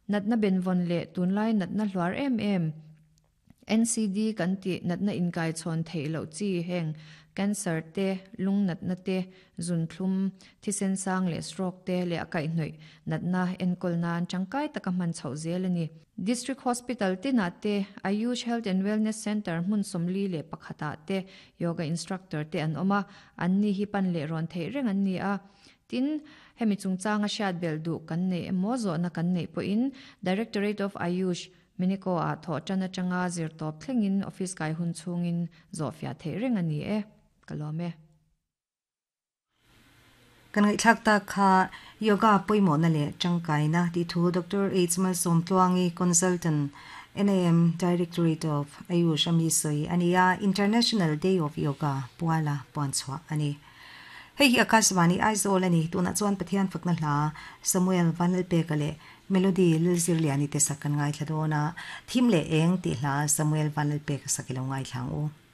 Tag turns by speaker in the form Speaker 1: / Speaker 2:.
Speaker 1: Natna benvawn leh tunlai natna hluar em em, NCD kan tih natna inkaichhawn theih loh chi heng cancer te, lung natna te, zunthlum, thisen sang leh stroke te leh a kaihhnawih natna enkawl nan tangkai taka hman chhoh zel a ni. District Hospital tinah te, Ayush Health and Wellness Centre hmun 41 ah te Yoga Instructor te an awm a, anni hi pan leh rawn theih reng an ni a. Tin, hemi chungchanga hriat belh duh kan neih emaw zawhna kan neih pawhin Directorate of Ayush, Minico ah thawh tan atanga zir tawp thlengin office kai hun chhungin zawhfiah theih reng a ni e. Ka lawm e.
Speaker 2: Kan ngaihthlak tak kha Yoga pawimawhna leh tangkaina tih thu Doctor H Malsawmtluangi, Consultant, NAM Directorate of Ayush a mi sawi a ni a, International Day of Yoga puala puanchhuah a ni. Hei hi Akashvani Aizawl a ni. Tunah chuan Pathian fakna hla Samuel Vanlalpeka leh Melody Lilzirliani te sak kan ngaithla dawn a, Thim leh Eng tih hla Samuel Vanlalpeka sak i lo ngaithla ang u.